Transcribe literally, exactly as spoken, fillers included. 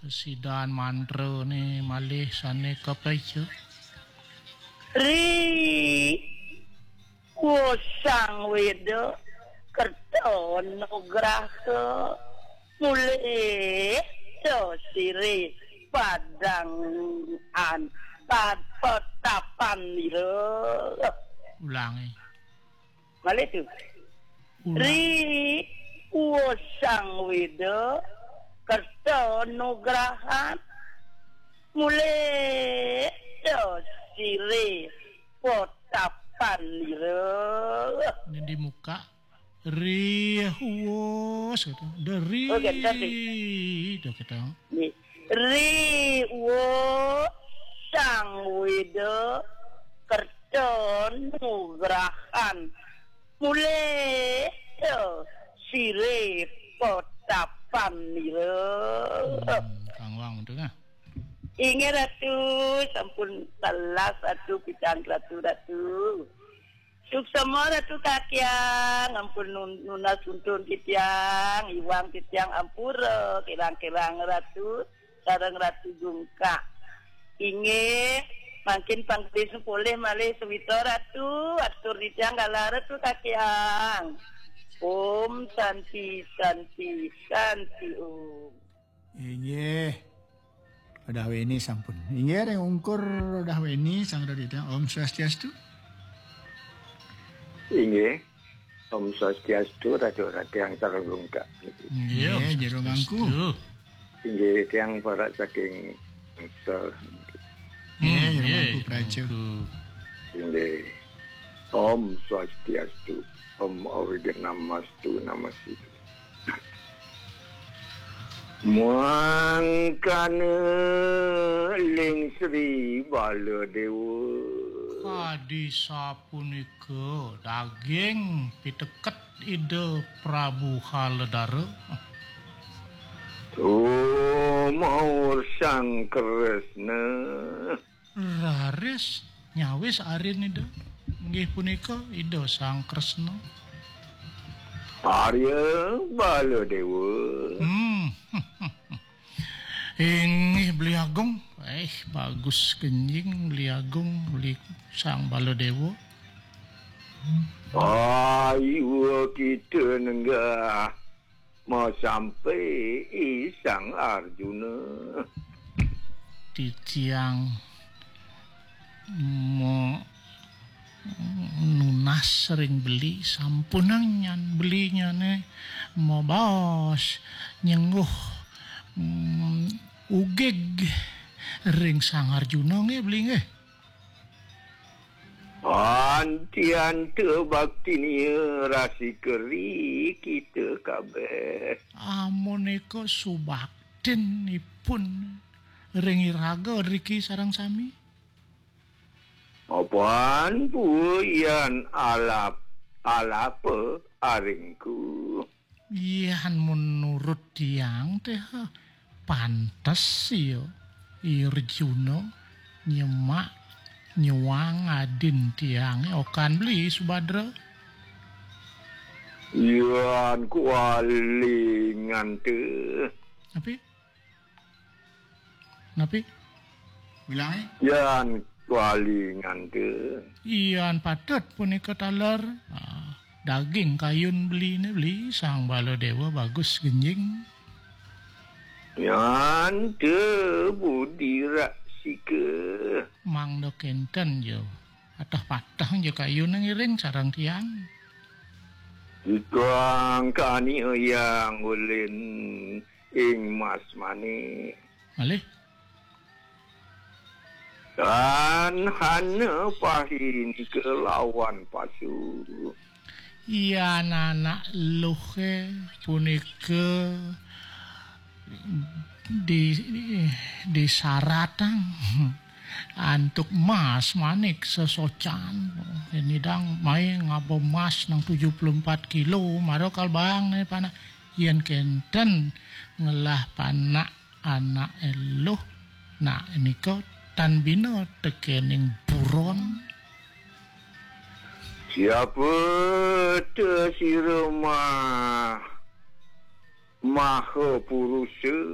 Sidan mantra ni malih sane kapeca. Ri, wosang weda, kerta nugraha, mulih da sire padang an, pad-, patapan nira. Ulangi. Malih tu. Ulang. Ri, wosang weda, kerta nugrahan, mulih da sire patapan nira. Ini di muka. Ri, wos, gitu. Deri. Oh, gitu, gitu. Dah, gitu. Nggih. Ri, wosang weda, kerta nugrahan, mulih da sire patapan nira. Hmm, Kang Wang tu nah. Inggih Ratu, sampun telas Ratu, picang Ratu, Ratu. Suksema Ratu Kakyang, ampun nun-, nunas untun titiang, iwang titiang ampura, kirang-kirang Ratu, sareng Ratu Gungkak. Inggih, mangkin pangkris polih malih sawitra Ratu, atur titiang galah Ratu Kakyang. Om Santi, Santi, Santi Om. Inggih. Udah weni sampun. Inggih, ring ungkur udah weni sang radita. Om Swastiastu. Inggih. Om Swastiastu, Ratu Rati yang sareng Gungkak. Inggih, Om Jero Mangku. Swastiastu. Inggih, tiang para saking Tangsel. Inggih, Jero Mangku Praja. Inggih. Om Swastiastu. Om Awighnamastu Namastu. Mangkana ling Sri Baladewa. Kadi sapunika daging piteket Ida Prabu Haladara. Tumaur Sang Kresna. Raris nyawis arin Ida. Inggih punika Ida Sang Kresna. Arya Baladewa. Hmm. Inggih Beli Agung. Eh, bagus genjing Beli Agung, Beli Sang Baladewa. Ayu kita nenggah masampai Sang Arjuna. Titiang mo nunas ring beli, sampunang nyan belinyane mabaos nyengguh, mm, ugig ring Sang Arjuna nggih beli nggih. Antianta baktinia rasi keri kita kabeh. Amunika subaktin ipun ring iraga driki sareng sami. Apan pua yan alap, alapa aringku. Yan menurut tiang teh, pantes ya, Arjuna nyemak nyuang adin tiange okan beli Subadra. Yan kualingan teh. Tapi Napi? Bilange? Yan kuali ngante. Yan patut punika taler. Ah, daging kayun beline beli Sang Baladewa bagus genjing. Yan te budi raksika. Mangda kenten jo. Atah patah jo kayun ngiring sareng tiang. Ikang kani yang ulin ing Mas Manik. Malih? Tan hana pahi nika lawan pasu. Yan anak luhe punika di, di, disaratang antuk Mas Manik sesocan. Nidang mai ngaba mas nang tujuh puluh empat kilo, mara kalbang ne panak. Yen kenten ngelah panak anak eluh, nak nika tan bina tekening buron. Siapa te sira mah maha purusa?